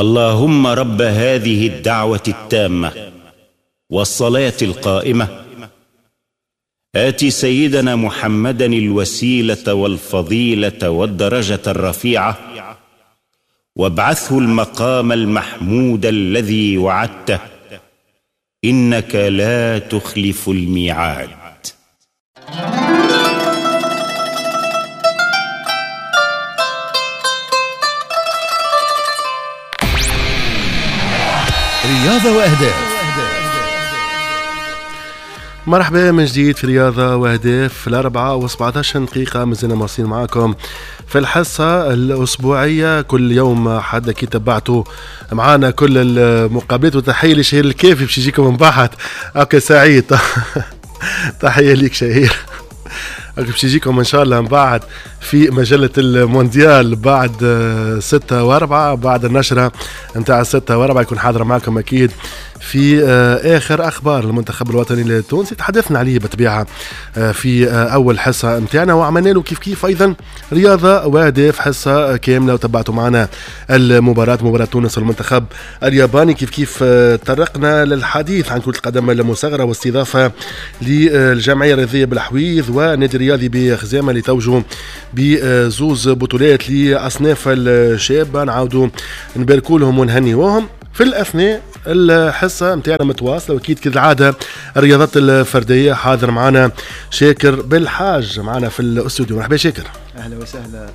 اللهم رب هذه الدعوة التامة والصلاة القائمة، آت سيدنا محمدا الوسيلة والفضيلة والدرجة الرفيعة، وابعثه المقام المحمود الذي وعدته، إنك لا تخلف الميعاد. رياضة وأهداف. مرحبا من جديد في رياضة وأهداف. 4:17 مازلنا مواصلين معاكم في الحصة الأسبوعية كل يوم حد كي تبعتوا معانا كل المقابلات. وتحية لشهير الكافي باش يجيكم من بعد. okay سعيد تحية ليك شهير، باش يجيكم ان شاء الله من بعد في مجلة المونديال بعد 6:04، بعد النشرة نتاع 6:04 يكون حاضر معكم اكيد في اخر اخبار المنتخب الوطني التونسي. تحدثنا عليه بالطبيعة في اول حصة نتاعنا، وعملنا له كيف كيف ايضا رياضة واهداف حصة كاملة، وتبعتوا معنا المباراة، مباراة تونس والمنتخب الياباني. كيف كيف تطرقنا للحديث عن كره القدم المصغرة واستضافه للجمعية الرياضية بالحويض ونادي الرياضي بخزامة اللي توجوا بزوز بطولات لاصناف الشابة. نعاودوا نباركوا لهم ونهنيوهم. في الاثناء الحصة نتاعنا متواصلة، واكيد كالعادة الرياضات الفردية حاضر معنا شاكر بالحاج معنا في الاستوديو. مرحبا شاكر. اهلا وسهلا،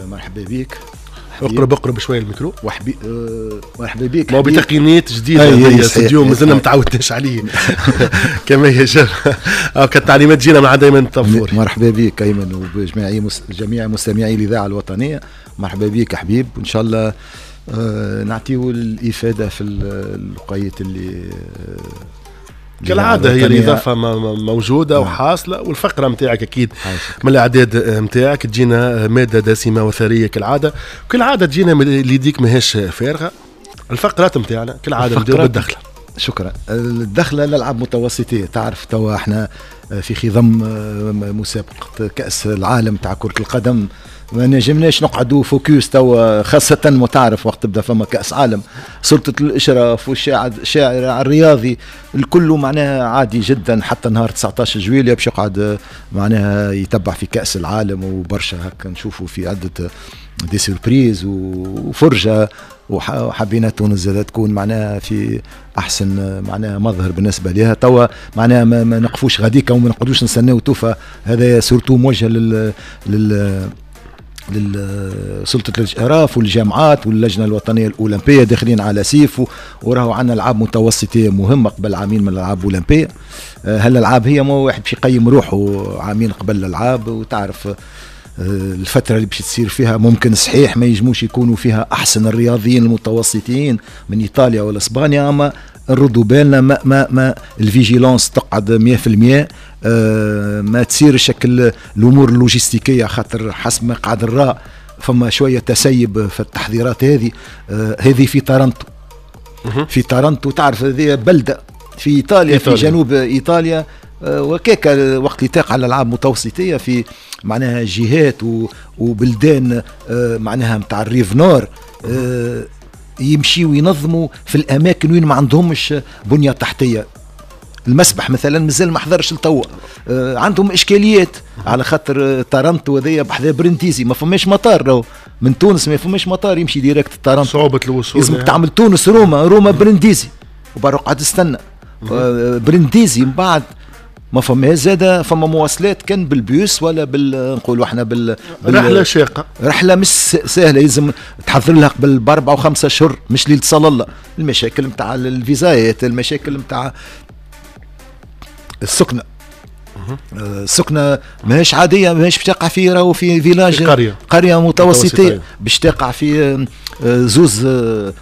مرحبا بك. اقرب اقرب شوية الميكرو. مرحبا بك. ما بتقنيات جديدة في الاستوديو مازلنا ما تعودناش عليه كما يجب. كالتعليمات تجينا مع دائما الطفور. مرحبا بك ايمن وبجميع جميع مستمعي الاذاعة الوطنية. مرحبا بك حبيب، وان شاء الله نعطيه الإفادة في الوقيت اللي كالعادة هي الإضافة موجودة وحاصلة، والفقرة متاعك أكيد من الأعداد متاعك تجينا مادة دسمة وثرية كالعادة. كالعادة تجينا اللي يديك ماهيش فارغة. الفقرات متاعنا كالعادة نبداو بالدخلة. شكرا. الدخلة الألعاب متوسطية، تعرف توا احنا في خضم مسابقة كأس العالم تاع كرة القدم، ما نجمناش نقعدوا focus توا، خاصة ما تعرف وقت تبدا فما كأس عالم، سلطة الإشراف والشارع الرياضي الكل معناها عادي جدا. حتى نهار 19 جويلية باش يقعد معناها يتبع في كأس العالم، وبرشا هكا نشوفوا في عدة des surprises وفرجة، وحبينا تونس زادة تكون معناها في احسن معناها مظهر بالنسبة لها. توا معناها ما نقفوش غاديكا وما نقعدوش نستناو توفى. هذا surtout موجه لل لسلطة الإشراف والجامعات واللجنة الوطنية الأولمبية، داخلين على سيف، وراهو عندنا ألعاب متوسطية مهمة قبل عامين من الألعاب الأولمبية. هالألعاب هي ما واحد باش يقيم روحه عامين قبل الألعاب، وتعرف الفترة اللي باش تصير فيها ممكن صحيح ما يجموش يكونوا فيها أحسن الرياضيين المتوسطين من إيطاليا ولا إسبانيا، أما نردوا بالنا ما ما ما ال vigilance تقعد 100%، ما تصير شكل الامور اللوجستيكيه، خاطر حسب ما قعد الراء فما شوية تسيب في التحضيرات هذه. هذه في تارانتو، في تارانتو تعرف هذه بلده في إيطاليا، في جنوب إيطاليا. وكيكا وقت اللي تقع الالعاب المتوسطيه في معناها جهات وبلدان معناها نتاع ال rive nord، يمشيوا ينظموا في الاماكن وين ما عندهمش بنيه تحتيه. المسبح مثلا مازال ما حضرش لتوا، عندهم اشكاليات على خاطر تارانتو هذيا بحذا برنديزي ما فماش مطار، راهو من تونس ما فماش مطار يمشي direct تارانتو، صعوبة الوصول، لازمك تعمل تونس روما، روما برنديزي، وبرا قعد تستنى برنديزي. من بعد ما فما زاده فما مواصلات كان بالبيوس ولا بال نقولوا احنا بال رحله شاقه، رحله مش سهلة، لازم تحضر لها قبل ب4 و5 اشهر، مش ليلة صلى الله. المشاكل نتاع الفيزايات، المشاكل نتاع السكنة، السكنة ماهيش عادية، ماهيش باش تقع في راهو في village، في قرية متوسطيه، باش تقع في زوز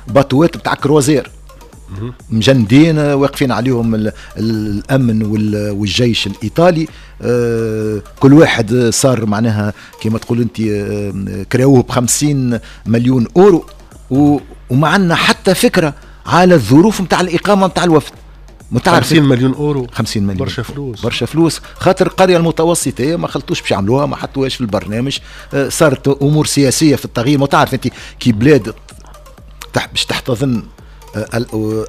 باتوات نتاع croisière مجندين واقفين عليهم الامن والجيش الايطالي. كل واحد صار معناها كما تقول انت كراوه ب 50 مليون اورو، وما عندنا حتى فكرة على الظروف نتاع الاقامة نتاع الوفد. 50 مليون اورو، 50 مليون برشا فلوس، برشا فلوس، خاطر القرية المتوسطيه ما خلطوش باش يعملوها، ما حطوهاش في البرنامج. صارت امور سياسية في التغيير، ما تعرف انت كي بلاد باش تحتضن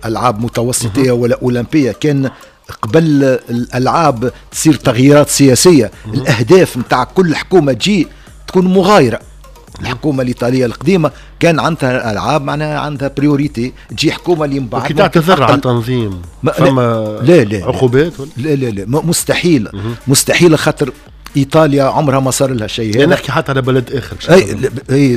العاب متوسطيه ولا اولمبيه، كان قبل الالعاب تصير تغييرات سياسية، الاهداف نتاع كل حكومة تجي تكون مغايرة. الحكومة الايطالية القديمة كان عندها العاب معناها عندها priorité، تجي حكومة اللي من بعد كي تعتذر على التنظيم فما لا لا عقوبات؟ لا لا لا مستحيل، مستحيل، خاطر ايطاليا عمرها ما صار لها شيء. هذا نحكي حتى على بلد اخر. اي اي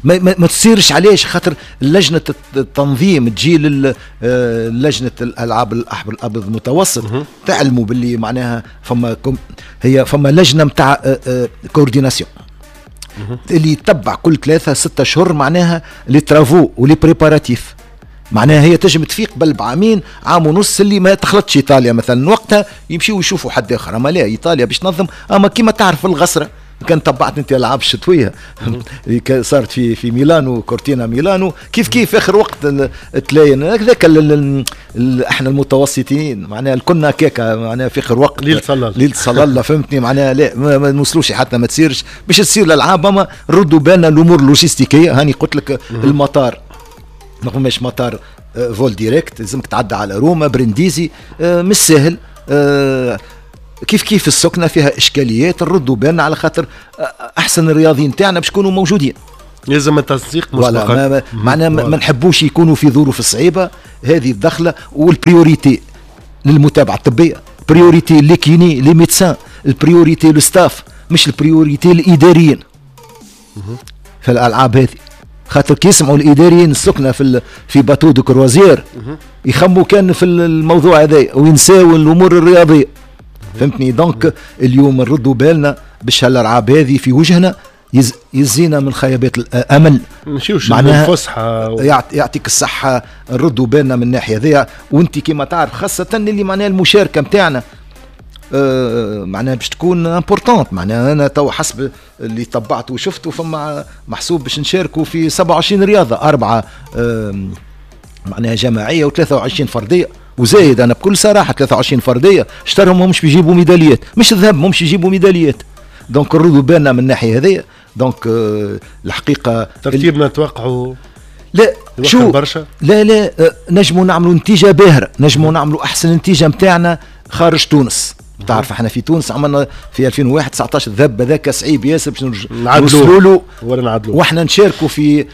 ما تصيرش. علاش؟ خاطر لجنة التنظيم تجي لجنة الالعاب الاحمر الابيض المتوسط، تعلموا باللي معناها فما هي فما لجنة نتاع coordination اللي يتبع كل 3-6 اشهر معناها les travaux و les préparatifs. معناها هي تجم تفيق قبل بعامين، عام ونص، اللي ما تخلطش ايطاليا مثلا، وقتها يمشيو يشوفوا حد اخر. اما لا، ايطاليا باش تنظم، اما كيما تعرف الغسره، كان تبعت انت العاب الشتوية اللي صارت في ميلانو، كورتينا ميلانو، كيف كيف اخر وقت تلاين هذاك. احنا المتوسطين معناها كنا كيكا معناها في اخر وقت ليل صلى ليل صلى، فهمتني؟ معناها لا ما نوصلوش حتى ما تصيرش باش تصير الالعاب، اما ردوا بالنا الامور اللوجستيكيه. هاني قلت لك المطار ما فماش مطار vol direct، لازمك تعدى على روما برنديزي، مش سهل. كيف كيف السكنة فيها اشكاليات. نردوا بالنا على خاطر احسن الرياضيين تاعنا باش يكونوا موجودين. لازم التنسيق مسبقا. معناها ما نحبوش يكونوا في ظروف صعيبة. هذه الدخلة وال priorité للمتابعة الطبيه، priorité les kinés، les médecins، ال priorité le staff، مش ال priorité الاداريين في الالعاب هذه. خاطر كي يسمعوا الاداريين السكنة في bateau de croisière يخموا كان في الموضوع هذا وينساو الامور الرياضيه، فهمتني؟ donc اليوم نردوا بالنا باش هالالعاب هذه في وجهنا، يزينا من خيبات الامل. نمشيوش الفسحة يعطيك الصحه. نردوا بالنا من الناحية هذيا، وانت كما تعرف خاصة اللي معناها المشاركة نتاعنا معناها باش تكون importante. معناها انا تو حسب اللي تبعته وشفته فما محسوب باش نشاركوا في 27 رياضه، 4 معناها جماعية و23 فردية. وزايد انا بكل صراحة 23 فردية اشترهم همش بيجيبوا ميداليات، مش ذهب، همش يجيبوا ميداليات. donc نردوا بالنا من الناحية هذه. donc الحقيقة ترتيبنا نتوقعوا لا شو برشا؟ لا لا، نجموا نعملوا نتيجة باهره، نجموا نعملوا احسن نتيجة نتاعنا خارج تونس. تعرف احنا في تونس عملنا في 2001 19 ذهب، هذاك صعيب ياسر باش نوصلوا له ولا نعدلوا، واحنا نشاركوا في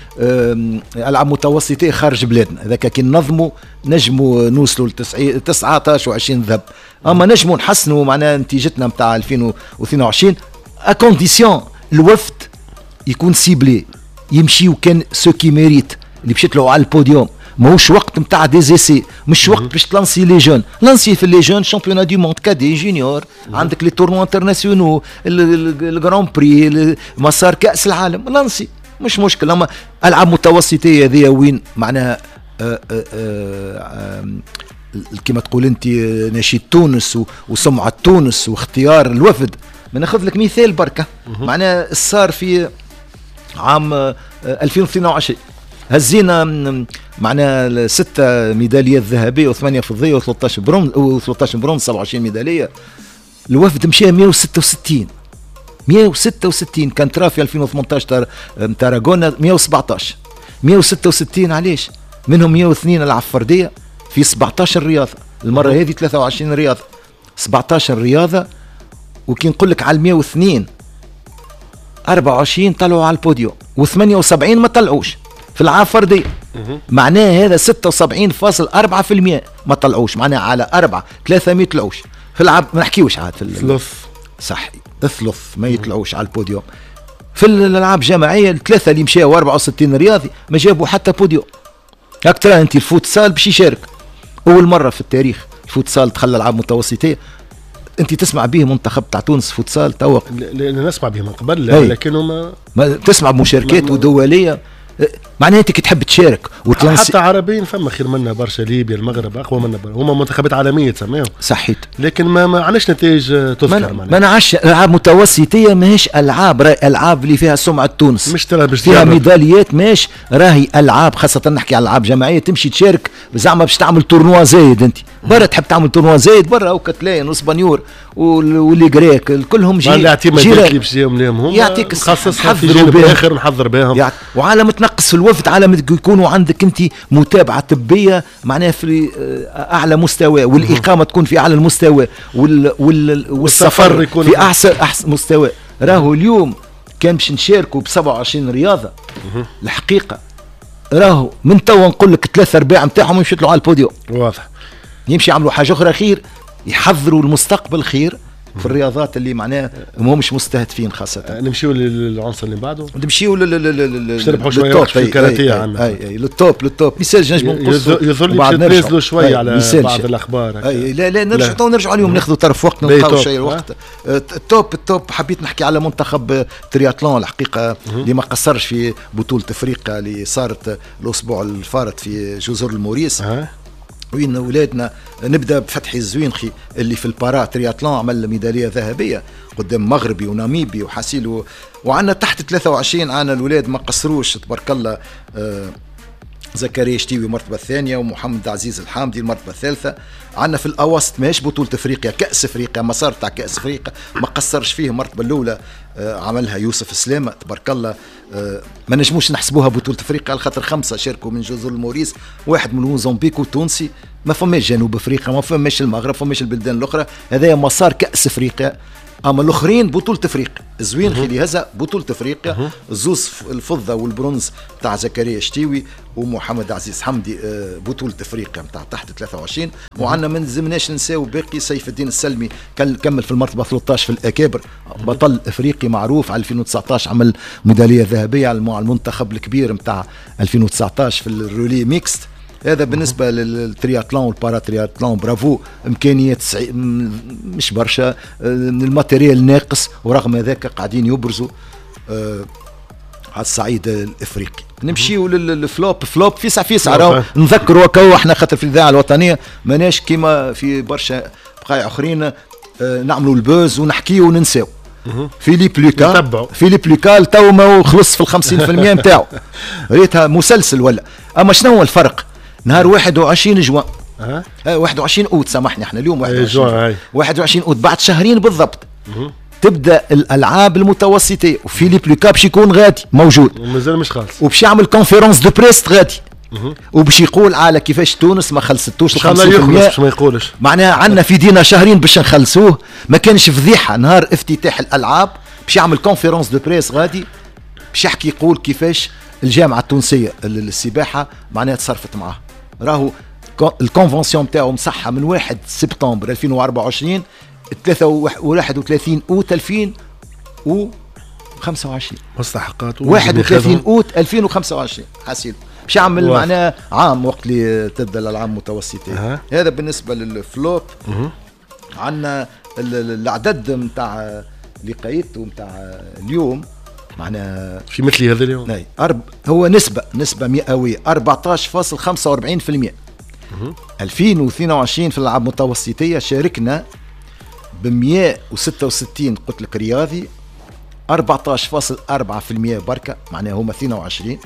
العاب متوسطيه خارج بلادنا. هذاك كي ننظموا نجموا نوصلوا ل 19 و20 ذهب، اما نجموا نحسنوا معناها نتيجتنا نتاع 2022 à condition الوفد يكون ciblé، يمشيو كان ceux qui méritent، اللي باش يطلعوا على البوديوم. ماهوش وقت نتاع des essais، مش وقت باش تلانسي les jeunes. lancer في les jeunes championnat du monde cadets، juniors، عندك les tournois internationaux، ال grand prix، مسار كاس العالم، lancer مش مشكل. اما العاب متوسطيه هذه وين معناها كما تقول انت نشيد تونس وسمعه تونس واختيار الوفد. ما ناخذ لك مثال بركه، معناها صار في عام 2022 هزينا معناها 6 ميداليات ذهبية و8 فضية و13 برونز و13 برونز، 27 ميداليه. الوفد مشى 166، 166 كان ترى في 2018 تاراغونا 117، 166. علاش؟ منهم 102 العاب فردية في 17 رياضة، المرة هذه 23 رياضه، 17 رياضه. وكي نقول لك على 102، 24 طلعوا على البوديوم و78 ما طلعوش في العاب فرديه. معناه هذا 76.4% ما طلعوش، معناها على 4 3 ما يطلعوش في العاب، ما نحكيوش عاد في الثلث. صح، الثلث ما يطلعوش على البوديوم. في الالعاب الجماعية الثلاثة اللي مشاو 64 رياضي ما جابوا حتى بوديوم. هاك ترى انت الفوتسال باش يشارك اول مرة في التاريخ، الفوتسال دخل الالعاب المتوسطيه. انت تسمع به منتخب تاع تونس فوتسال توا؟ نسمع به من قبل، لكنه ما تسمع بمشاركات ودوليه. معناها انت كي تحب تشارك وتلانسي حتى عربيين فما خير منا برشا، ليبيا، المغرب اقوى منا، هما منتخبات عالمية تسميهم. صحيت، لكن ما عندناش نتائج تذكر. ما نعرفش العاب متوسطيه ماهيش العاب، راهي العاب اللي فيها سمعه تونس، مش تلعب فيها ميداليات، ماهيش راهي العاب، خاصة نحكي على العاب جماعية تمشي تشارك زعما باش تعمل tournoi زايد انت. برا تحب تعمل tournoi زايد برا، وكتلان واسبانيور و les Grecs كلهم جي الاعتمادات اللي باش لهم يعطيك نخصصها في جانب اخر نحضر بهم وعالم تنقص في الوفد، عالم يكونوا عندك انت متابعه طبية معناها في اعلى مستوى، والاقامة تكون في اعلى المستوى، والسفر يكون في احسن مستوى. راهو اليوم كان باش نشاركوا ب 27 رياضة الحقيقة راهو من توا نقول لك 3/4 نتاعهم يمشوا يطلعوا على البوديوم. واضح يمشي يعملوا حاجة اخرى خير، يحضروا المستقبل خير في الرياضات اللي معناها مش مستهدفين خاصة. نمشيو للعنصر اللي بعده، نمشيو باش نربحوا شوية وقت في الكاراتيه عندنا. اي لل top لل top مثال نجموا نقصوا يظل لي باش ننزلوا شوية على بعض الاخبار. اي لا لا نرجعوا نرجعوا اليوم ناخذوا طرف وقت نلقاو شيء الوقت. ال top ال top حبيت نحكي على منتخب ترياتلون الحقيقة اللي ما قصرش في بطوله افريقيا اللي صارت الاسبوع الفارط في جزر الموريس. وين اولادنا نبدا بفتحي الزوينخي اللي في ال para-triathlon عمل ميدالية ذهبية قدام مغربي وناميبي وحاسيل، وعندنا تحت 23 عندنا الاولاد ما قصروش تبارك الله، زكريا شتيوي المرتبة الثانية ومحمد عزيز الحامدي المرتبة الثالثة. عندنا في الاواسط ماهيش بطوله افريقيا، كاس افريقيا، مسار تاع كاس افريقيا ما قصرش فيه، المرتبة الاولى عملها يوسف سلامه تبارك الله. ما نجموش نحسبوها بطوله افريقيا على خاطر 5 شاركوا من جزر الموريس، واحد من موزمبيق وتونسي، ما فماش جنوب افريقيا، ما فماش المغرب، ما فماش البلدان الاخرى، هذا مسار كاس افريقيا. اما الاخرين بطوله افريقيا، زوين خلي هذا بطوله افريقيا، زوز الفضة والبرونز تاع زكريا شتيوي ومحمد عزيز حمدي بطوله افريقيا نتاع تحت 23. وعندنا ما لازمناش ننساو باقي سيف الدين السلمي كمل في المرتبة 13 في الاكابر، بطل افريقي معروف على 2019 عمل ميدالية ذهبية على المنتخب الكبير نتاع 2019 في ال relais mixte. هذا بالنسبة لل triathlon وال para-triathlon bravo، امكانيات مش برشا، ال matériel ناقص، ورغم ذاك قاعدين يبرزوا على الصعيد الافريقي. نمشيو لل flop flop فيسع فيسع راهو نذكروا كو احنا خاطر في الاذاعة الوطنية ماناش كيما في برشا بقايع اخرين نعملوا ال buzz ونحكيو وننساو. فيليب لوكا، فيليب لوكا تو ما خلص في 50% نتاعو، ريتها مسلسل ولا. اما شنو هو الفرق؟ نهار 21 جوان 21 اوت سامحني، احنا اليوم 21 اوت بعد شهرين بالضبط تبدا الالعاب المتوسطيه، وفيليب لوكا باش يكون غادي موجود ومازال مش خالص، وباش يعمل conférence de presse غادي، وباش يقول على كيفاش تونس ما خلصتوش 50%. باش ما يقولش معناها عندنا في دينا شهرين باش نخلصوه، ما كانش فضيحة نهار افتتاح الالعاب باش يعمل conférence de presse غادي باش يحكي يقول كيفاش الجامعة التونسية للسباحه معناها تصرفت معاه. راهو ال convention تاعو مصحه من 1 سبتمبر 2024 31 اوت 2025، مستحقات 31 اوت 2025 حاسيل باش يعمل معناه عام وقت اللي تبدا الالعاب المتوسطيه. هذا بالنسبة لل flop. عندنا العدد نتاع لقايته نتاع اليوم معناها في مثل هذا اليوم هو نسبة مئوية 14.45%. 2022 في الألعاب المتوسطية شاركنا ب 166 قلت لك رياضي، 14.4% بركة معناها هما 22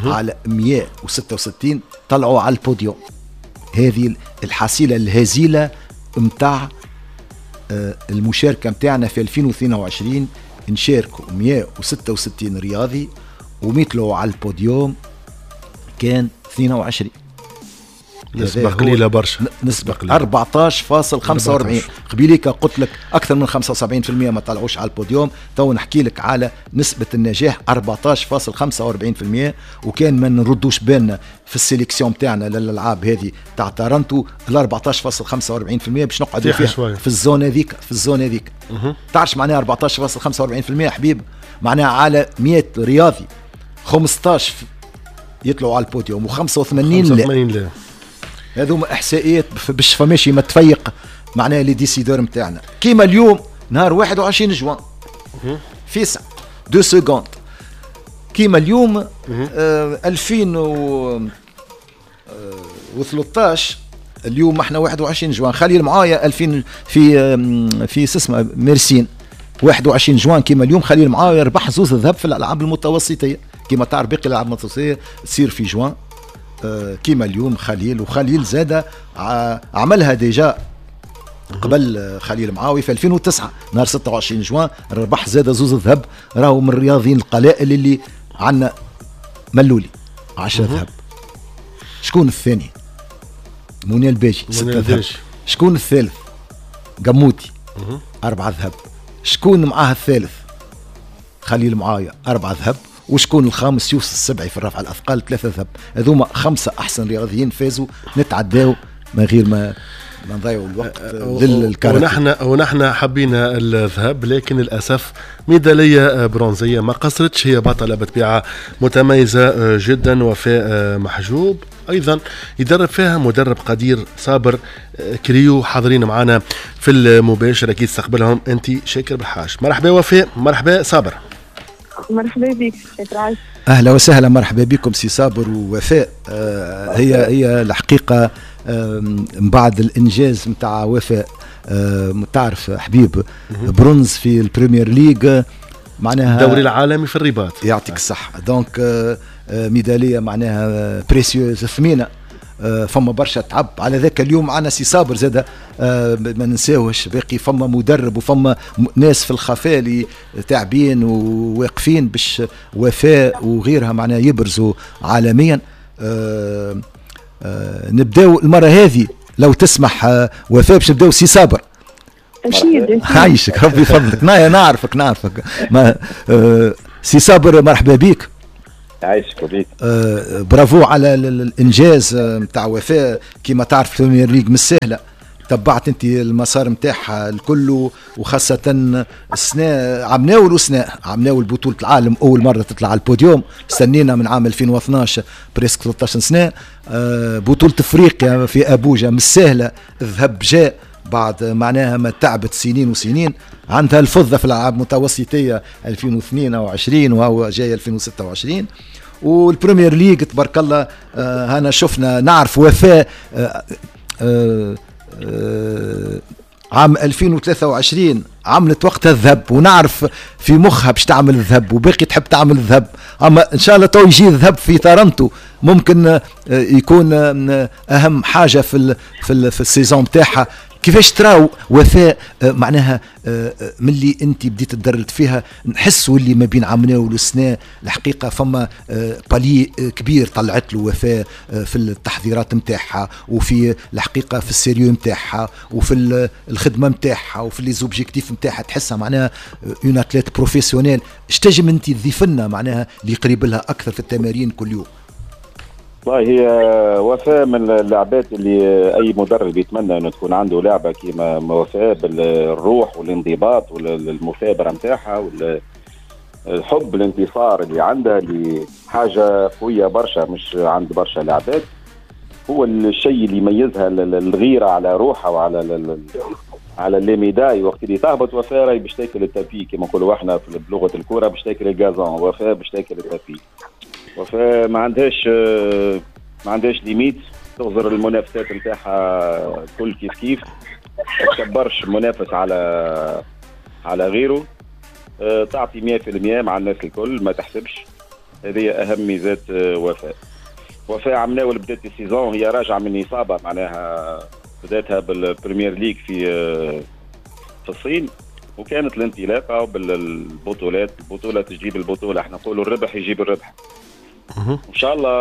على 166 طلعوا على البوديوم. هذه الحصيلة الهزيلة متاع المشاركة متاعنا في 2022، نشاركوا 166 رياضي ومثلوا على البوديوم كان 22. نسبة قليلة برشا، نسبة قليلة 14.45. قبيليك قلت لك أكثر من 75% ما طلعوش على البوديوم، تو نحكي لك على نسبة النجاح 14.45%. وكان ما نردوش بالنا في ال sélection تاعنا للألعاب هذه تاع تارنتو ال 14.45% باش نقعدوا فيها في ال zone هذيك، في ال zone هذيك. تعرفش معناها 14.45% حبيب؟ معناها على 100 رياضي 15 يطلعوا على البوديوم و85 لا. هذوما احصائيات باش فماشي ما تفيق معناها les décideurs نتاعنا. كيما اليوم نهار 21 جوان فيسع 2 secondes، كيما اليوم 2013 اليوم احنا 21 جوان، خليل معايا 2000 في اسمه ميرسين 21 جوان كيما اليوم خليل معايا ربح زوز ذهب في الالعاب المتوسطيه. كيما تعرف باقي الالعاب المتوسطيه تصير في جوان. كيما اليوم خليل، وخليل زاد عملها déjà قبل خليل معاوي في 2009 نهار 26 جوان ربح زاد 2 ذهب. راهو من الرياضيين القلائل اللي عندنا ملولي 10 ذهب. شكون الثاني؟ منى الباجي 6 ذهب. شكون الثالث؟ قموتي 4 ذهب. شكون معاه الثالث؟ خليل معاوية 4 ذهب. وشكون الخامس؟ يوسف السبعي في الرفع الأثقال 3 ذهب. هذوما 5 أحسن رياضيين فازوا، نتعداو من غير ما نضيعوا الوقت للكاراتيه. ونحن حبينا الذهب، لكن للأسف ميدالية برونزية ما قصرتش، هي بطلة بطبيعة متميزة جدا. وفاء محجوب أيضا يدرب فيها مدرب قدير صابر كريو، حاضرين معنا في المباشر، أكيد استقبلهم أنت شاكر بالحاج. مرحبا وفاء، مرحبا صابر. مرحبا بك شاكر. أهلا وسهلا، مرحبا بكم سي صابر ووفاء. هي الحقيقة من بعد الإنجاز نتاع وفاء، تعرف حبيب، برونز في ال Premier League، معناها الدوري العالمي في الرباط، يعطيك الصحة. donc ميدالية معناها précieuse ثمينة، فما برشا تعب على ذاك. اليوم معنا سي صابر زاد، ما ننساوش باقي فما مدرب وفما ناس في الخفاء اللي تعبين وواقفين باش وفاء وغيرها معناها يبرزوا عالميا. نبداو المرة هذه لو تسمح وفاء باش نبداو سي صابر. اكيد عايشك ربي يفضلك. نعرفك ما سي صابر مرحبا بك. عايشك وبيك. برافو على الانجاز نتاع وفاء. كيما تعرف Premier League مش سهلة، تبعت انت المسار نتاعها الكل، وخاصة السنة عمناول وسنة عمناول بطوله العالم اول مرة تطلع على البوديوم، استنينا من عام 2012 presque 13 سنة. بطوله افريقيا في ابوجا مش سهلة، الذهب جاء بعد معناها ما تعبت سنين وسنين. عندها الفضة في الالعاب المتوسطيه 2022 وهو جاي 2026. وال Premier League تبارك الله، هنا شفنا نعرف وفاء عام 2023 عملت وقتها الذهب، ونعرف في مخها باش تعمل الذهب وباقي تحب تعمل الذهب. اما ان شاء الله تو يجي الذهب في تورنتو، ممكن يكون اهم حاجة في في في ال saison تاعها. كيفاش تراو وفاء معناها ملي انت بديت تدربت فيها، نحسوا اللي ما بين عامناول والسنة الحقيقة فما palier كبير طلعت له وفاء في التحضيرات نتاعها، وفي الحقيقة في ال sérieux نتاعها، وفي الخدمة نتاعها، وفي les objectifs نتاعها، تحسها معناها une athlète professionnelle. اش تنجم انت تضيف لنا معناها اللي قريب لها اكثر في التمارين كل يوم؟ والله هي وفاء من اللاعبات اللي اي مدرب يتمنى انه تكون عنده لعبه كيما وفاء، بالروح والانضباط والمثابرة نتاعها والحب الانتصار اللي عندها، اللي حاجة قوية برشا مش عند برشا لاعبات. هو الشيء اللي يميزها الغيرة على روحها وعلى على les médailles. وقت اللي تهبط وفاء راهي باش تاكل ال tapis كما نقولوا احنا بلغه الكورة، باش تاكل ال gazon. وفاء باش تاكل ال tapis. وفاء ما عندهاش limite، تغزر المنافسات نتاعها كل كيف كيف، ما تكبرش منافس على غيره، تعطي 100% مع الناس الكل، ما تحسبش. هذه اهم ميزات وفاء. وفاء عمناول بدات ال saison هي راجعه من اصابه، معناها بداتها بال Premier League في الصين، وكانت الانطلاقة بالبطولات، البطولة تجيب البطولة، احنا نقولوا الربح يجيب الربح. ان شاء الله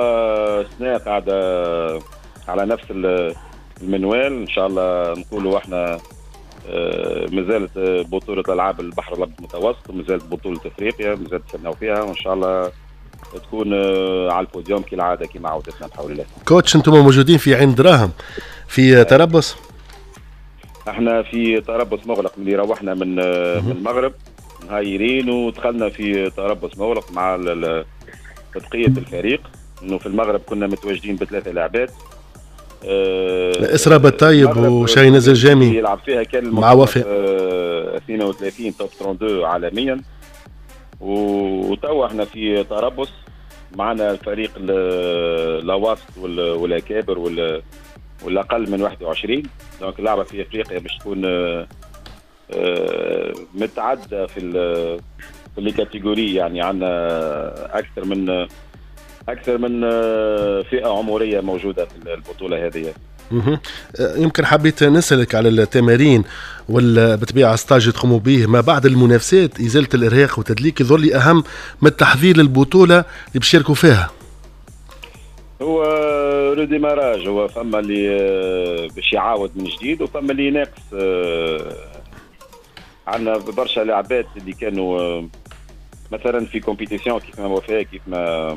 السنة قاعدة على نفس المنوال، ان شاء الله نقولوا احنا مازالت بطوله العاب البحر الابيض المتوسط، ومازالت بطوله افريقيا مازالت نستناو فيها، وان شاء الله تكون على البوديوم كالعادة كما عودتنا بحول الله. coach، انتم موجودين في عين دراهم في تربص؟ احنا في تربص مغلق من اللي روحنا من المغرب نهايرين، ودخلنا في تربص مغلق مع بقية الفريق. انه في المغرب كنا متواجدين بثلاثة لاعبات، اسراء بالطيب وشاهيناز الجامي يلعب فيها كان مع وفاء 32 top 32 عالميا. وتوا احنا في تربص معنا الفريق الاواسط والاكابر والاقل من 21. donc اللعبة في افريقيا باش تكون متعددة في les catégories، يعني عندنا اكثر من اكثر من فئة عمرية موجودة في البطولة هذه. يمكن حبيت نسألك على التمارين والبطبيعة stage تقوموا به ما بعد المنافسات، إزالة الإرهاق والتدليك يظل لي أهم من التحضير للبطولة اللي بيشاركوا فيها. هو redémarrage، هو فما اللي باش يعاود من جديد وفما اللي ناقص. عندنا برشا لاعبات اللي كانوا مثلا في compétition كيف ما وفاء، كيف ما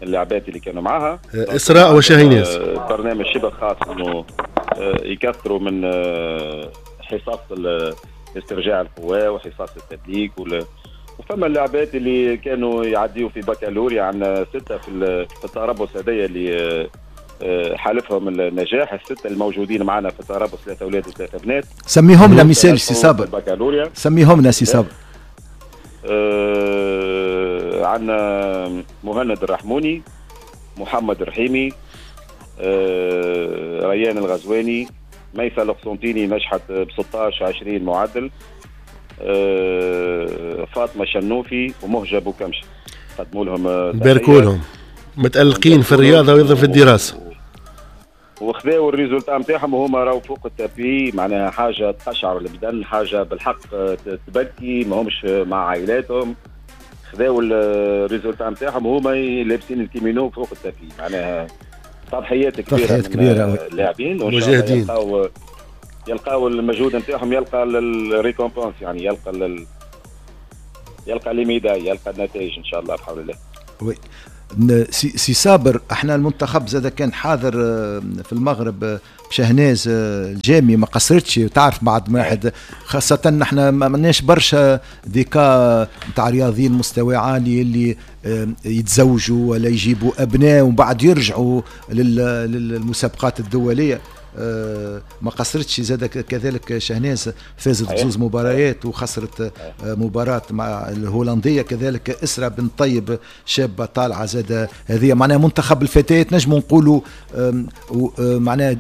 اللاعبات اللي كانوا معاها اسراء وشاهيناز، برنامج شبه خاص انه يكثروا من حصص استرجاع القوى وحصص التدليك. وفما اللاعبات اللي كانوا يعديوا في بكالوريا، عندنا 6 في التربص هذايا اللي حالفهم النجاح، الستة الموجودين معنا في التربص 3 اولاد و3 بنات. سميهم لنا مثال سي صابر، سميهم لنا سي صابر. عندنا مهند الرحموني، محمد الرحيمي، ريان الغزواني، ميسا القسنطيني نجحت ب 16 20 معدل، فاطمة شنوفي ومهجه بوكمشه. قدموا لهم، باركوا لهم، متألقين في الرياضة وايضا في الدراسة، وخذاو ال résultat نتاعهم وهما راهو فوق ال tapis، معناها حاجة تقشعر البدن، حاجة بالحق تبكي، ما همش مع عائلاتهم، خذاو ال résultat نتاعهم وهما لابسين الكيمينو فوق ال tapis، معناها تضحيات كبيرة، تضحيات كبيرة اللاعبين مجاهدين، يلقاو المجهود نتاعهم، يلقى ال récompense، يعني يلقى les médailles، يلقى النتائج ان شاء الله بحول الله. oui سي صابر، احنا المنتخب زاد كان حاضر في المغرب بشهناز الجامي، ما قصرتش، تعرف بعد ما واحد، خاصة نحن ما عندناش برشا des cas نتاع رياضيين مستوى عالي اللي يتزوجوا ولا يجيبوا ابناء ومن بعد يرجعوا للمسابقات الدولية. ما قصرتش زاد كذلك شهناز، فازت بزوز مباريات وخسرت مباراة مع الهولندية. كذلك إسراء بن طيب شابة طالعة زاد، هذه معناها منتخب الفتيات نجم نقولوا معناها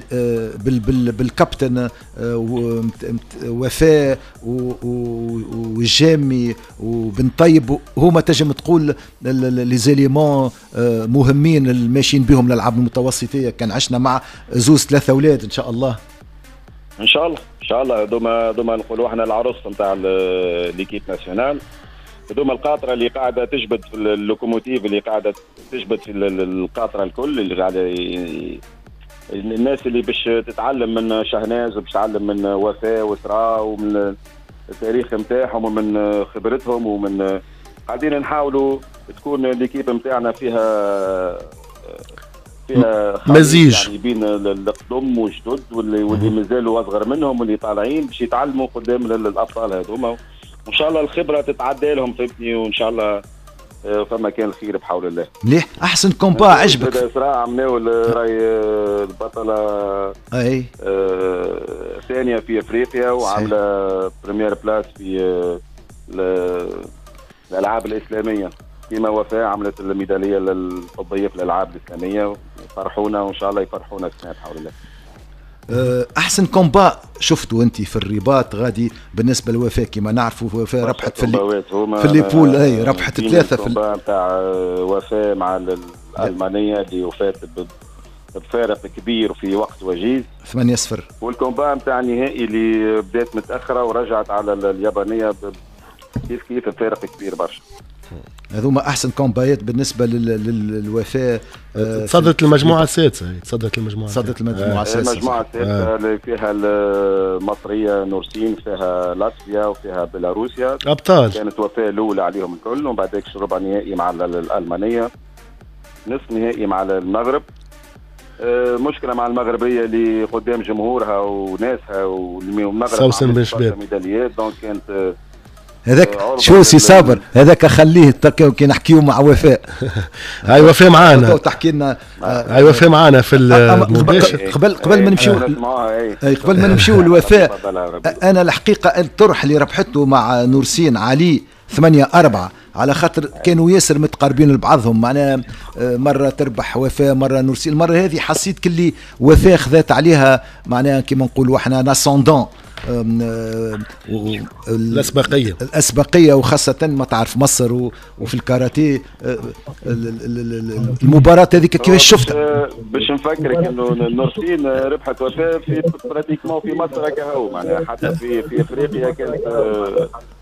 بالكابتن وفاء والجامي وبن طيب، هما تنجم تقول les éléments مهمين الماشيين بهم للألعاب المتوسطية. كان عشنا مع زوز 3 أولاد ان شاء الله. ان شاء الله، ان شاء الله دوما نقولوا احنا العروس نتاع l'équipe nationale، دوما القاطره اللي قاعدة تجبد في ال locomotive، اللي قاعدة تجبد في القاطره الكل، اللي قاعدة الناس اللي باش تتعلم من شهناز وباش تتعلم من وفاء واسراء ومن التاريخ نتاعهم ومن خبرتهم، ومن قاعدين نحاولوا تكون l'équipe نتاعنا فيها مزيج يعني بين القدم والجدد واللي مازالوا اصغر منهم واللي طالعين باش يتعلموا قدام الابطال هذوما، وان شاء الله الخبرة تتعدى لهم، فهمتني، وان شاء الله فما كان الخير بحول الله. مليح، احسن combat عجبك؟ اسراء عملناو راي البطلة اي ثانية في افريقيا وعامله première place في الالعاب الاسلامية، كما وفاء عملت الميداليه الفضيه في الالعاب الاسلامية، فرحونا وان شاء الله يفرحونا السنة بحول الله. احسن combat شفته انت في الرباط غادي بالنسبة لوفاء؟ كما نعرفوا وفاء ربحت في les poules، اي ربحت 3 في ال combat نتاع وفاء مع الالمانية اللي وفات بفارق كبير في وقت وجيز 8-0، وال combat نتاع النهائي اللي بدات متاخرة ورجعت على اليابانية كيف كيف بفارق كبير برشا. هذوما احسن combat ات بالنسبة للوفاء. تصدت المجموعة السادسة، تصدت المجموعة، تصدت المجموعة السادسة، المجموعة السادسة اللي فيها المصرية نورسين، فيها لاتفيا وفيها بيلاروسيا، ابطال. كانت وفاء الاولى عليهم الكل، ومن بعد ربع نهائي مع الالمانية، نصف نهائي مع المغرب. مشكلة مع المغربية اللي قدام جمهورها وناسها، والمغرب سوسن بن شباب ميداليات، donc كانت هذاك شو سي صابر هذاك خليه كي نحكيو مع وفاء. هاي وفاء معانا تحكي لنا، هاي وفاء معانا في المباشر. قبل ما نمشيو، قبل ما نمشيو لوفاء، انا الحقيقة الطرح اللي ربحته مع نورسين علي 8-4 على خاطر كانوا ياسر متقاربين لبعضهم، معناها مرة تربح وفاء مرة نورسين. المرة هذه حسيت كلي وفاء خذات عليها، معناها كيما نقولوا احنا l'ascendant، الاسبقيه، الاسبقيه، وخاصة ما تعرف مصر وفي الكاراتيه. المباراة هذيك كيفاش شفتها؟ باش نفكرك انه نورسين ربحت وفاء في pratiquement في مصر كهو، معناها حتى في افريقيا كانت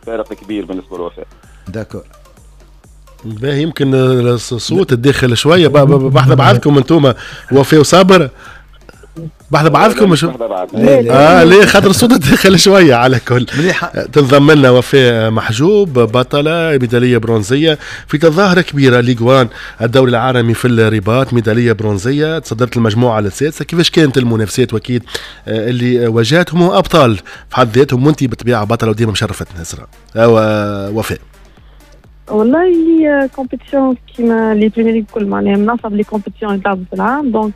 فارق كبير بالنسبة للوفاء. d'accord. باهي، يمكن الصوت الداخل شوية بحذا بعضكم انتم وفاء وصابر، بحذا بعضكم مش ليه خاطر الصوت داخل شوية. على كل تنضم لنا وفاء محجوب، بطلة ميدالية برونزيه في تظاهرة كبيرة Ligue 1 الدوري العالمي في الرباط، ميدالية برونزيه، تصدرت المجموعة السادسة. كيفاش كانت المنافسات واكيد اللي واجهتهم ابطال في حد ذاتهم، وانت بالطبيعة بطلة وديما مشرفتنا اسراء وفاء. والله هي compétition كيما les Premier League الكل، معناها من اصعب les compétitions اللي تلعبوا في العام، donc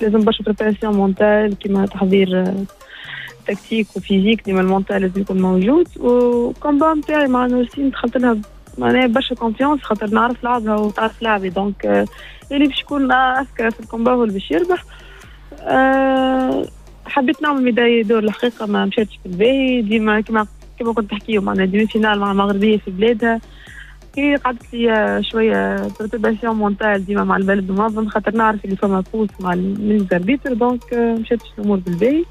لازم برشا préparation mentale كيما تحضير tactique و physique، ديما ال mental لازم يكون موجود. و combat نتاعي مع نورسين دخلت لها معناها برشا confiance، خاطر نعرف لعبها وتعرف لعبي، donc اللي باش يكون اذكى في ال combat هو اللي باش يربح. حبيت نعمل médaille d'or، الحقيقة ما مشاتش في الباهي، ديما كيما كنت تحكيو معناها demi-finale مع المغربية في بلادها، هي قعدت لي شوية perturbation mentale ديما مع البلد المنظم، خاطر نعرف اللي فما pouce مع من arbitre، donc مشاتش الامور بالباهي،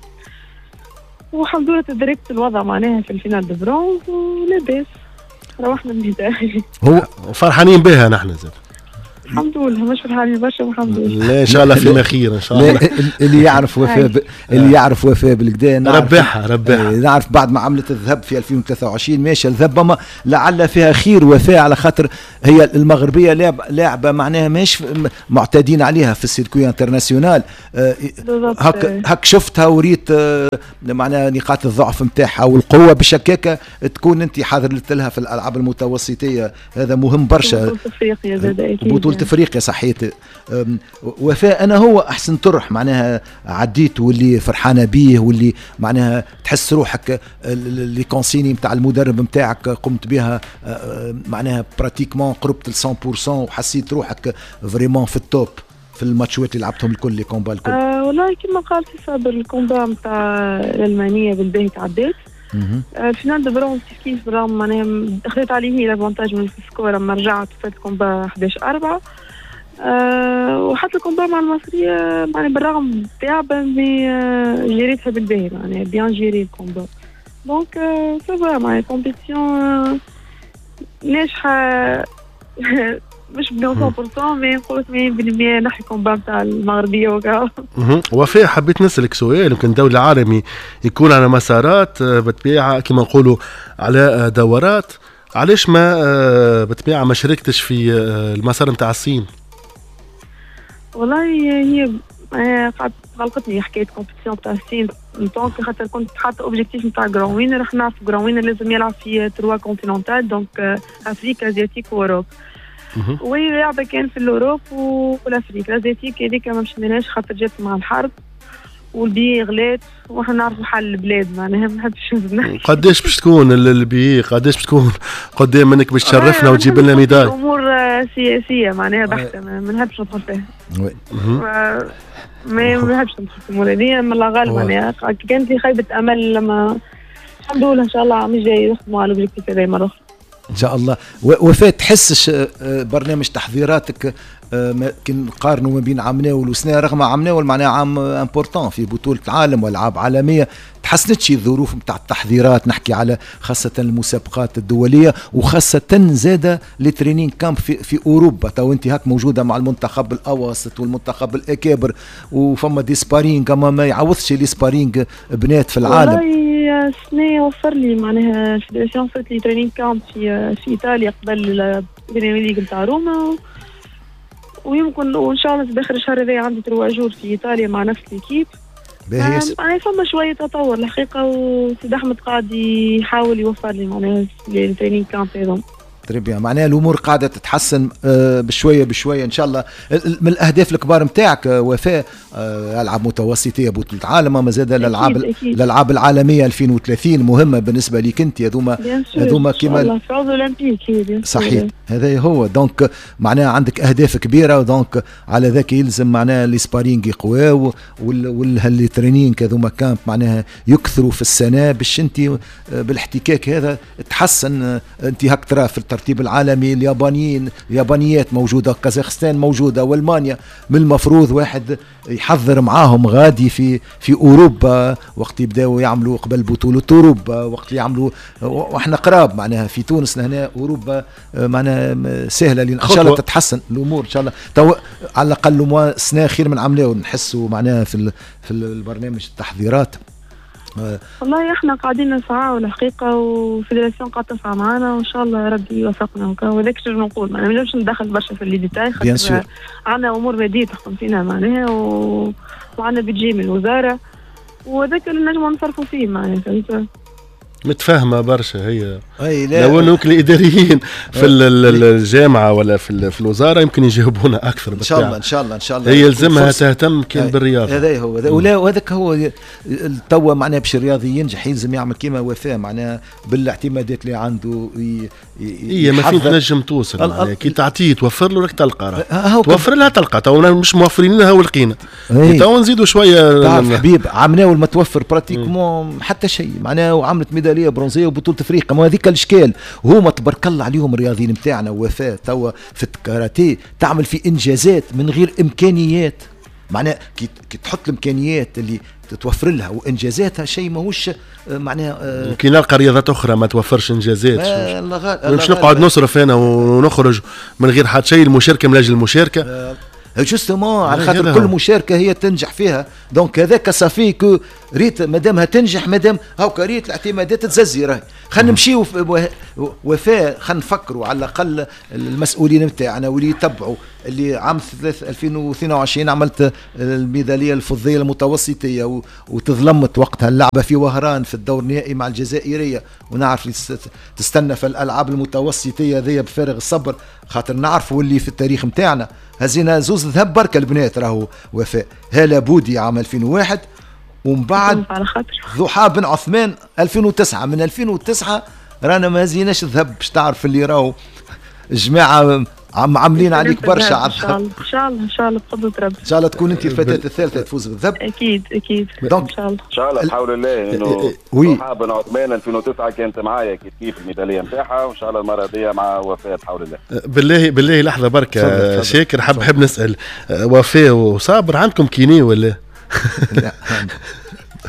والحمد لله تدركت الوضع معناها في ال finale de bronze ولاباس روحنا بال médaille. هو فرحانين بها نحن زاد. الحمد لله، مش فرحانين برشا والحمد لله. لا ان شاء الله فيما خير ان شاء الله. اللي يعرف وفاء اللي يعرف وفاء بالكدا ربحها ربحها، نعرف بعد ما عملت الذهب في 2023 ماشية الذهب، ما لعل فيها خير وفاء، على خاطر هي المغربية لاعبه معناها ماهيش معتادين عليها في ال circuit international. هك شفتها وريت معناها نقاط الضعف نتاعها والقوه، باش هكاك تكون انت حاضر لها في الالعاب المتوسطيه، هذا مهم برشا. بطولة افريقيا زاد اكيد، بطولة افريقيا صحيت. وفاء انا هو احسن طرح معناها عديت واللي فرحانة بيه واللي معناها تحس روحك les consignes نتاع المدرب نتاعك قمت بها معناها pratiquement قربت ل 100% وحسيت روحك vraiment في ال top في الماتشات اللي لعبتهم الكل les combats الكل. والله كما قال سي صابر، ال combat نتاع الالمانية بالباهي تعديت. ال finale de bronze كيف كيف، بالرغم معناها خذيت عليه l'avantage من ال score لما رجعت فات combat 11-4. وحتى ال combat مع المصرية معناها بالرغم تعبا mais جريتها بالباهي، معناها bien géré ال combat، donc ça va معناها compétition ناجحة مش ب 100% mais نقول 80% نحي combat تاع المغربية وكا. وفاء حبيت نسألك سؤال، يمكن الدوري العالمي يكون على مسارات بالطبيعة كما نقولوا على دورات، علاش ما بالطبيعة ما شاركتش في المسار نتاع الصين؟ والله هي قعدت غلقتني حكاية compétition تاع الصين، donc خاطر كنت حاطه objectif نتاع grand winner، راح نعرف grand winner لازم يلعب في trois continentales، donc Afrique asiatique و Europe، وهي لعبه كان في l'Europe وال Afrique، l'asiatique هذيك ما مشيناش خاطر جات مع الحرب والبي غلات واحنا نعرفوا حال البلاد معناها ما نحبش نحكي. قداش باش تكون البي، قداش باش تكون قدام منك باش تشرفنا وتجيب لنا médaille؟ امور سياسية معناها بحته ما نحبش ندخل فيها. ما نحبش ندخل في الامور هذه، من الله غالب معناها كانت لي خيبه امل لما الحمد لله ان شاء الله عام الجاي نخدموا على l'objectif هذا مرة اخرى ان شاء الله. وفاء تحسش برنامج تحضيراتك كي نقارنوا ما بين عام والسنة، رغم عام معناها عام important في بطوله العالم والعاب عالمية، تحسنتش الظروف نتاع التحضيرات؟ نحكي على خاصة المسابقات الدولية وخاصة زاده les training camps في اوروبا، تو انت هاك موجودة مع المنتخب الاواسط والمنتخب الاكابر وفما des sparring، اما ما يعوضش les sparring بنات في العالم. والله السنة وفر لي معناها ال fédération وفرت لي training camp في ايطاليا قبل ال Premier League نتاع روما، ويمكن وان شاء الله في اخر الشهر هذا عندي 3 jours في ايطاليا مع نفس l'équipe. معناها فما شوية تطور الحقيقة، وسيد احمد قاعد يحاول يوفر لي معناها les training camps هذوما. très bien، معناها الامور قاعدة تتحسن بشوية بشوية ان شاء الله. من الاهداف الكبار نتاعك وفاء العاب متوسطيه بطوله عالم، ما زاد الالعاب العالمية 2030 مهمة بالنسبة لك انت. هذوما كيما صحيح هذا هو. donc معناها عندك اهداف كبيرة، donc على ذاك يلزم معناها les sparring يقواو وال training هذوما camp معناها يكثروا في السنة باش انت بالاحتكاك هذا تحسن. انت هاك ترى في الترتيب العالمي اليابانيات موجودة، كازاخستان موجودة، والمانيا. من المفروض واحد يحضر معاهم غادي في اوروبا وقت يبداو يعملوا قبل بطوله اوروبا، وقت يعملوا واحنا قراب معناها في تونس لهنا اوروبا معناها سهلة. ان شاء الله تتحسن الامور ان شاء الله. تو على الاقل سنة خير من عملاو نحسوا معناها في البرنامج التحضيرات. والله احنا قاعدين نسعى الحقيقة، و fédération قاعدة تسعى معنا وان شاء الله ربي يوفقنا. وهذاك شنو نقول، ما نجمش ندخل برشا في les détails خاطر عندنا امور مادية تحكم فينا معناها، وعندنا budget من الوزارة وهذاك اللي نجموا نصرفوا فيه معناها. فهمت؟ متفاهمه برشا هي. لو انه الاداريين في الجامعة ولا في الوزارة يمكن يجاوبونا اكثر. ان شاء الله ان شاء الله ان شاء الله هي يلزمها تهتم كان بالرياضة. هذا هو ولا وهذاك هو توا معناها باش الرياضي ينجح يلزم يعمل كيما وفاء معناها بالاعتمادات اللي عنده. هي ما فين تنجم توصل معناها كي تعطيه توفر له راك تلقى، توفر لها تلقى. تو مش موفرين لها ولقينا، تو نزيدوا شوية. تعرف حبيب عمناول ما توفر pratiquement حتى شيء معناها، وعملت ميدالية برونزيه وبطولة افريقيا. ما هذيك الاشكال. هما تبارك الله عليهم الرياضيين نتاعنا. وفاء توا في الكاراتيه تعمل في انجازات من غير امكانيات، معناها كي تحط الامكانيات اللي تتوفر لها وانجازاتها شيء ماهوش معناها. كي نلقى رياضات اخرى ما توفرش انجازات مش نقعد نصرف انا ونخرج من غير حتى شيء. المشاركة من اجل المشاركة justement على خاطر كل مشاركة هي تنجح فيها. donc هذاك ça fait que ريت مادامها تنجح، مادام هاكا ريت الاعتمادات تززي راهي. خلينا نمشيو وفاء، خلينا نفكروا على الاقل المسؤولين نتاعنا واللي يتبعوا اللي عام 2022 عملت الميداليه الفضيه المتوسطيه وتظلمت وقتها اللعبة في وهران في الدور النهائي مع الجزائرية، ونعرف تستنى في الالعاب المتوسطيه ذي بفارغ الصبر خاطر نعرفوا اللي في التاريخ نتاعنا هزينا زوز ذهب بركة البنات راهو وفاء، هالة بودي عام 2001 ومن بعد ضحى بن عثمان 2009. من 2009 رانا ما هزيناش ذهب باش تعرف اللي راهو الجماعة عاملين عليك برشا على الذهب. ان شاء الله ان شاء الله بقدرة ربي ان شاء الله تكون انت الفتاة الثالثة تفوز بالذهب. اكيد اكيد ان شاء الله ان شاء الله بحول الله. انه ضحى بن عثمان 2009 كانت معايا كيف كيف الميداليه نتاعها، وان شاء الله المرة دي مع وفاء بحول الله. بالله بالله لحظة بركة شاكر، حاب نسال وفاء وصابر، عندكم kiné ولا؟ لا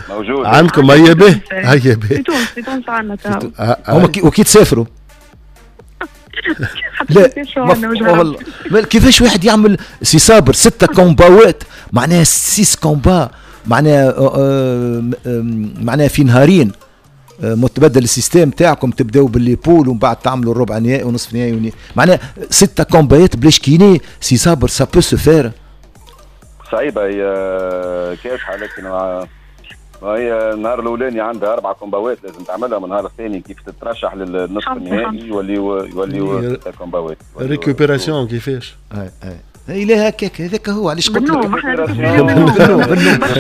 موجود عندكم. هيا به هيا به في تونس، في تونس عندنا. هما وكي تسافروا لا والله كيفاش واحد يعمل سي صابر 6 combat ات معناها 6 combats معناها معناها في نهارين متبدل ال système تاعكم، تبداو ب les poules ومن بعد تعملوا الربع نهائي ونصف نهائي، معناها 6 combat ات بلاش kiné سي صابر ça peut se faire. صعيبة هي كاسحه، لكن هي النهار الاولاني عندها 4 combat ات لازم تعملها، من النهار الثاني كيف تترشح للنصف النهائي يوليو 6 combat ات. récupération كيفاش؟ اي لا هكاك هذاك هو علاش قلت لك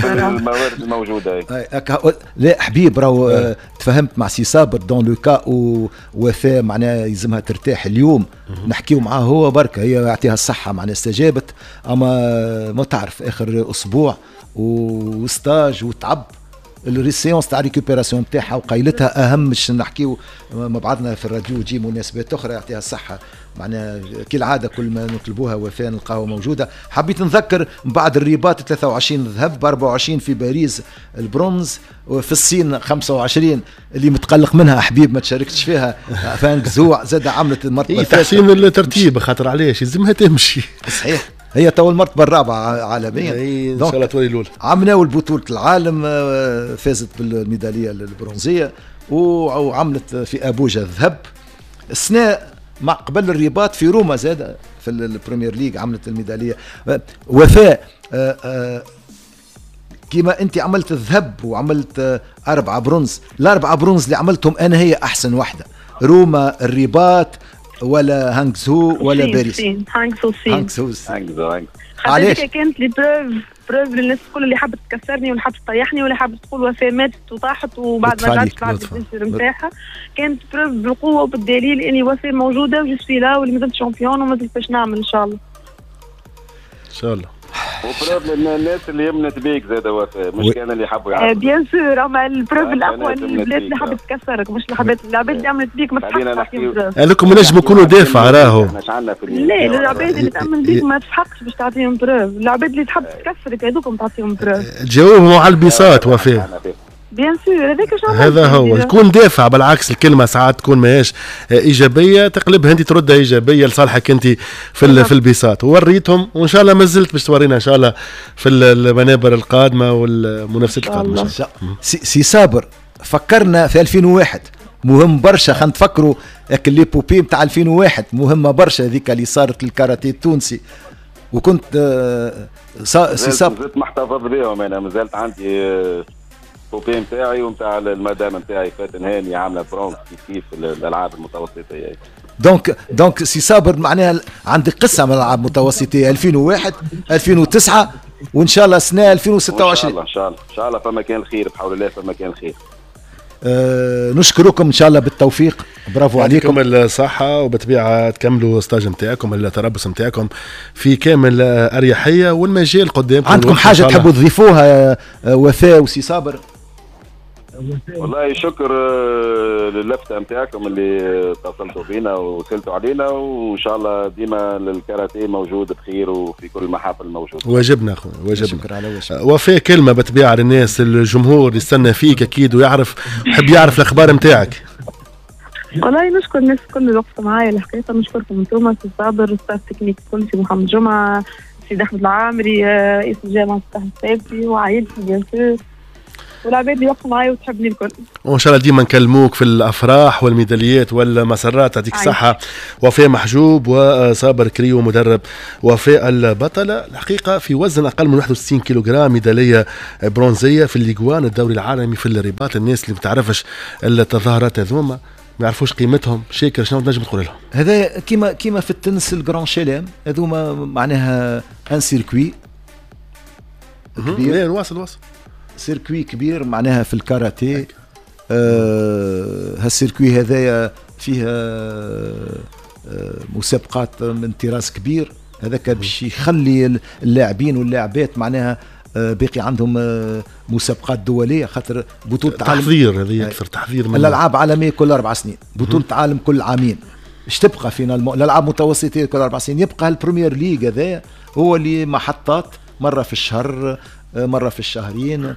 الموارد الموجودة. لا حبيب راهو تفهمت مع سي صابر dans le cas وفاء معناها يلزمها ترتاح اليوم، نحكيو معاه هو بركة، هي يعطيها الصحة معناها استجابت، اما ما تعرف اخر اسبوع و stage وتعب ال séance تاع récupération تاعها وقايلتها اهم باش نحكيو مع بعضنا في الراديو تجي مناسبات اخرى. يعطيها الصحة معناها كالعادة كل ما نطلبوها وفاء نلقاها موجودة. حبيت نذكر من بعد الرباط 23 ذهب، 24 في باريس البرونز، وفي الصين 25 اللي متقلق منها حبيب ما تشاركتش فيها فانكزوع زاد عملت المرتبة الثالثة. تحسين الترتيب خاطر علاش يلزمها تمشي. صحيح هي تو المرتبة الرابعة عالميا، ان شاء الله تولي الاولى. عملناو بطوله العالم فازت بالميداليه البرونزيه وعملت في ابوجا الذهب. السنة مع قبل الرباط في روما زاد في ال Premier League عملت الميداليه. وفاء كيما انت عملت الذهب وعملت 4 برونز، ال4 برونز اللي عملتهم انا هي احسن واحدة، روما، الرباط، ولا هانغزو ولا باريس؟ هانغزو الصين. هانغزو. علاش؟ كانت les preuves للناس الكل اللي حبت تكسرني واللي حبت تطيحني واللي حبت تقول وفاء ماتت وطاحت وبعد ما رجعت بعد ال blessure نتاعها، كانت preuve بالقوة وبالدليل اني وفاء موجودة و je suis là واللي مازلت championne ومازلت باش نعمل ان شاء الله. ان شاء الله. و preuve للناس اللي يمنت بيك زاد وفاء، مش كان اللي حبوا يعرفوا. bien sûr، اما ال preuve الاقوى البلاد اللي حبت تكسرك، مش العباد اللي عملت بيك ما تستحقش تعطيهم preuve. هذوك نجموا يكونوا دافع راهو. لا، العباد اللي تامن بيك ما تستحقش باش تعطيهم preuve، العباد اللي تحب تكسرك هذوك تعطيهم preuve. تجاوبهم على البساط وفاء. bien sûr، هذاك هذا هو، تكون دافع. بالعكس الكلمة ساعات تكون ماهيش ايجابية تقلبها انت تردها ايجابية لصالحك انت في البساط. وريتهم وان شاء الله ما زلت باش تورينا ان شاء الله في المنابر القادمة والمنافسات القادمة. سي صابر، فكرنا في 2001 مهم برشا، خلينا نتفكروا l'épopée نتاع 2001 مهمة برشا هذيك اللي صارت للكاراتيه التونسي. وكنت سي صابر مازلت محتفظ بهم انا، مازالت عندي l'épopée نتاعي ونتاع المدام نتاعي فاتن هاني عامله برونز كيف الالعاب المتوسطيه. donc سي صابر معناها عندك قصة من الالعاب المتوسطيه 2001 2009 وان شاء الله سنة 2026. ان شاء الله ان شاء الله فما كان الخير بحول الله، فما كان الخير. نشكركم ان شاء الله بالتوفيق، برافو عليكم الصحة، وبطبيعة تكملوا stage نتاعكم التربص نتاعكم في كامل اريحية والمجال قدامكم. عندكم حاجة تحبوا تضيفوها وفاء وسي صابر؟ والله شكر للفتة نتاعكم اللي اتصلتوا بينا وسلتوا علينا، وان شاء الله ديما الكاراتيه موجود بخير وفي كل المحافل موجود. واجبنا اخويا، واجبنا. شكرا على وجهك. وفاء كلمة بطبيعة للناس، الجمهور اللي يستنى فيك اكيد ويعرف يحب يعرف الاخبار نتاعك. والله نشكر الناس الكل اللي وقفوا معايا الحقيقة، نشكركم انتم سي صابر، staff technique كل، سي محمد جمعه، سي احمد العامري، رئيس الجامعة سي الثابتي، وعائلتي bien sûr، والعباد اللي وقفوا معايا وتحبني الكل. وان شاء الله ديما نكلموك في الافراح والميداليات والمسرات. يعطيك الصحة وفاء محجوب وصابر كريو مدرب وفاء البطلة الحقيقة في وزن اقل من 61 كيلوغرام، ميدالية برونزيه في الليغوان الدوري العالمي في الرباط. الناس اللي ما تعرفش التظاهرات هذوما ما يعرفوش قيمتهم، شاكر شنو تنجم تقول لهم؟ هذا كيما في التنس ال grand chelem هذوما معناها un circuit كبير. واصل circuit كبير معناها في الكاراتيه. هال circuit هذايا فيه مسابقات من طراز كبير، هذاك باش يخلي اللاعبين واللاعبات معناها باقي عندهم مسابقات دولية، خاطر بطوله عالم تحضير هذه اكثر تحضير من الالعاب عالمية كل 4 سنين، بطوله عالم كل عامين، اش تبقى فينا الالعاب المتوسطيه كل 4 سنين، يبقى ال Premier League هذايا هو اللي محطات مرة في الشهر مرة في الشهرين،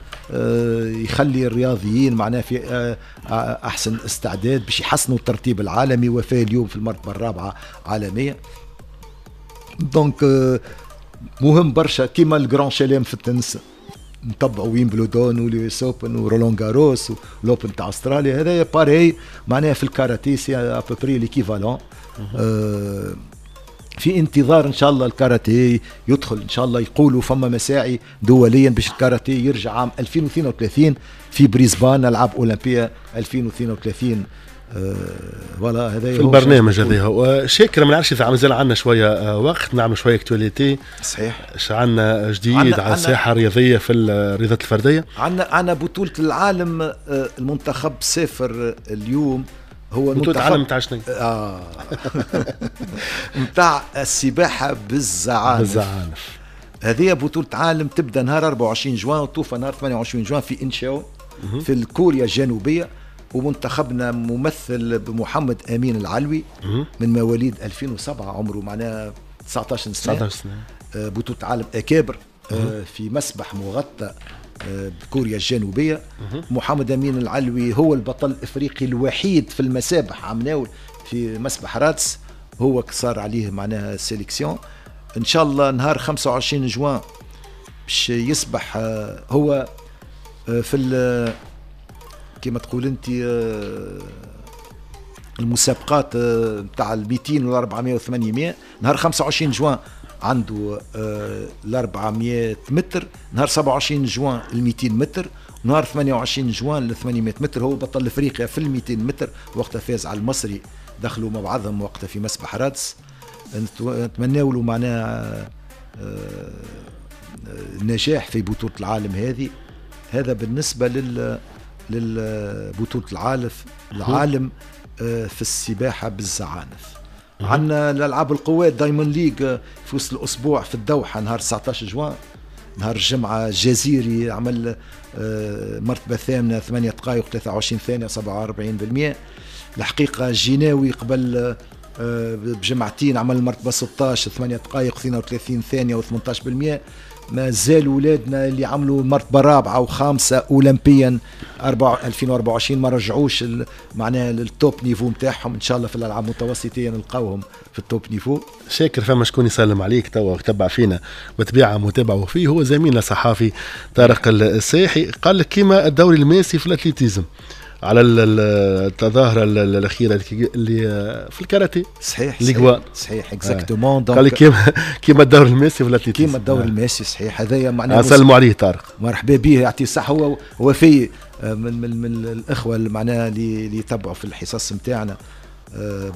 يخلي الرياضيين معناه في أحسن استعداد باش يحسنوا الترتيب العالمي. وفاء اليوم في المرتبة الرابعة عالمية، donc مهم برشا. كيما ال grand chelem في التنس نتبعوا ويمبلدون و l'US Open ورولان غاروس وال Open تاع استراليا، هذايا pareil معناها في الكاراتيه c'est à peu près l'équivalent. في انتظار ان شاء الله الكاراتيه يدخل ان شاء الله، يقولوا فما مساعي دوليا باش الكاراتيه يرجع عام 2032 في بريسبان، العاب اولمبيه 2032. voilà هذا في البرنامج هذا هو. شاكر، ما نعرفش اذا مازال عندنا شوية وقت نعمل شوية actualité. صحيح، اش عندنا جديد على الساحة الرياضية في الرياضات الفردية؟ عندنا بطوله العالم، المنتخب سافر اليوم، هو بطولة العالم نتاع شنو؟ نتاع السباحة بالزعانف. هذه بطولة عالم تبدا نهار 24 جوان وتوفى نهار 28 جوان في انشاو في الكوريا الجنوبية، ومنتخبنا ممثل بمحمد أمين العلوي من مواليد 2007، عمره معناها 19 سنة. 19 سنة. بطولة عالم أكابر في مسبح مغطى بكوريا الجنوبية. محمد أمين العلوي هو البطل الإفريقي الوحيد في المسابح عمناول في مسبح رادس، هو صار عليه معناها sélection. إن شاء الله نهار 25 جوان باش يسبح هو في كما تقول أنت المسابقات نتاع 200 وال 400 و 800. نهار 25 جوان عنده ال 400 متر، نهار 27 جوان ال 200 متر، نهار 28 جوان ال 800 متر. هو بطل افريقيا في ال 200 متر وقتها فاز على المصري دخلوا مع بعضهم وقتها في مسبح رادس. نتمناو له معناها النجاح في بطولة العالم هذه. هذا بالنسبة للبطولة العالم في السباحة بالزعانف. عندنا الألعاب القوات Diamond League في وسط الأسبوع في الدوحة نهار 19 جوان، نهار الجمعة الجزيري عمل مرتبة ثامنة 8 دقائق 23 ثانية 47%. الحقيقة الجناوي قبل بجمعتين عمل مرتبة 16 8 دقائق 32 ثانية و18%. ما زال ولادنا اللي عملوا مرتبة رابعة وخامسة أولمبيا 2024 ما رجعوش معناها لل top niveau نتاعهم. إن شاء الله في الألعاب المتوسطية نلقاوهم في ال top niveau. شاكر، فما شكون يسلم عليك توا تبع فينا بطبيعة متابعة وفيه، هو زميلنا صحافي طارق الساحي، قال لك كيما الدوري الماسي في ال athlétisme على التظاهرة الأخيرة اللي في الكاراتيه. صحيح صحيح exactement. قال لك كيما الدوري الماسي في ال athlétisme، كيما الدوري الماسي صحيح. هذايا معناها سلموا عليه طارق، مرحبا به، يعطيه الصحة. هو في من الإخوة اللي معناها اللي يتبعوا في الحصص نتاعنا،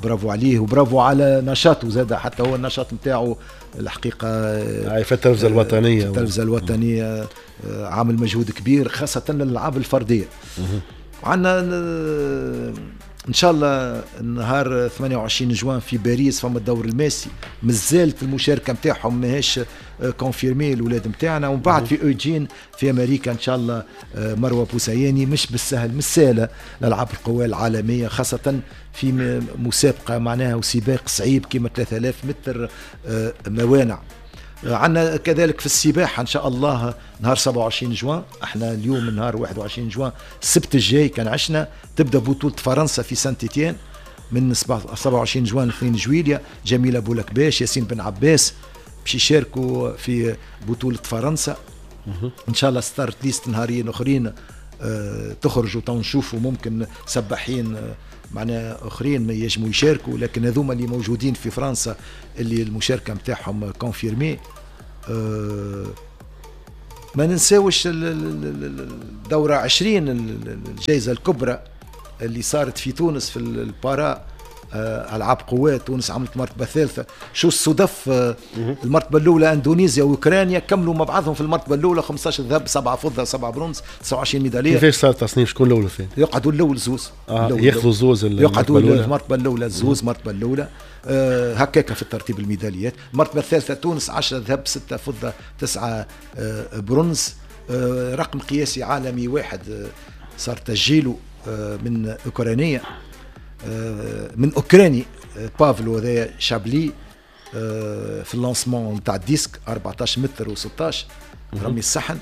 برافو عليه وبرافو على نشاطه زاد، حتى هو النشاط نتاعو الحقيقة في التلفزة الوطنية، في التلفزة الوطنية عامل مجهود كبير خاصة للألعاب الفردية. وعندنا ان شاء الله نهار 28 جوان في باريس فما الدور الماسي، مازالت المشاركة نتاعهم ماهيش confirmée الاولاد نتاعنا. ومن بعد في اوجين في امريكا ان شاء الله مروه بوسياني، مش بالسهل، مش سهلة الالعاب القوى العالمية، خاصة في مسابقة معناها وسباق صعيب كيما 3000 متر موانع. عندنا كذلك في السباحة إن شاء الله نهار 27 جوان، احنا اليوم نهار 21 جوان السبت الجاي كان عشنا تبدأ بطولة فرنسا في سانت إتيان من 27 جوان ل 2 جويليا. جميلة بولكباش، ياسين بن عباس باش يشاركوا في بطولة فرنسا. إن شاء الله start list نهارين أخرين تخرجوا تو نشوفوا ممكن سباحين معناها اخرين ما يجموا يشاركوا، لكن هذوما اللي موجودين في فرنسا اللي المشاركة نتاعهم confirmée. ما ننساوش الدورة 20 الجائزة الكبرى اللي صارت في تونس في ال para العاب قوات، تونس عملت مرتبه ثالثة. شو الصدف، المرتبة الاولى اندونيسيا واوكرانيا كملوا مع بعضهم في المرتبة الاولى، 15 ذهب، 7 فضة، 7 برونز، 29 ميدالية. كيفاش صار التصنيف؟ شكون الاول والثاني؟ يقعدوا الاول زوز، ياخذوا زوز، يقعدوا المرتبة الاولى زوز، المرتبة الاولى هكاك في الترتيب الميداليات. المرتبة الثالثة تونس 10 ذهب، 6 فضة، 9 برونز. رقم قياسي عالمي واحد صار تسجيله من اوكرانيه، من اوكراني بافلو هذايا شابلي في ال lancement نتاع ال disque 14 متر و16 رمي الصحن.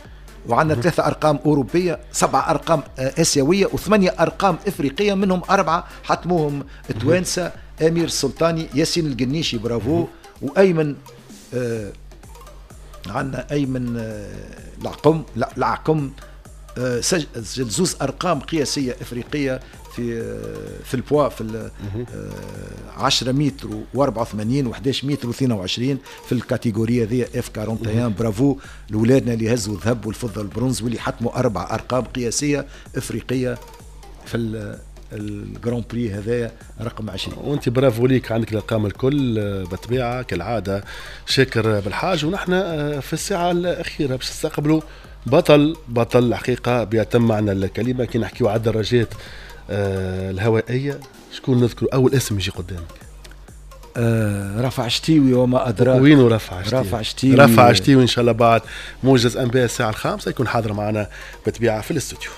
وعندنا 3 ارقام اوروبية، 7 ارقام اسيوية، و8 ارقام افريقية، منهم 4 حتموهم توانسة، امير السلطاني، ياسين القنيشي برافو، وايمن عندنا ايمن العقم، لا العقم سجل زوز ارقام قياسية افريقية في البوا في 10 متر و84 و11 متر و22 في ال catégorie ذي F 41. برافو لاولادنا اللي هزوا الذهب والفضة والبرونز واللي حطموا 4 ارقام قياسية افريقية في ال Grand Prix هذايا رقم 20. وانت برافو ليك، عندك الارقام الكل بالطبيعة كالعادة. شاكر بالحاج. ونحن في الساعة الاخيرة باش نستقبلوا بطل الحقيقة بيتم معنا الكلمة. كي نحكيو على الدراجات الهوائية، شكون نذكر اول اسم يجي قدامك؟ رفع شتيوي وما ادراك. وينو رفع شتيوي؟ رفع شتيوي، رفع شتيوي ان شاء الله بعد موجز انباء الساعة 5 يكون حاضر معنا بالطبيعة في الاستوديو.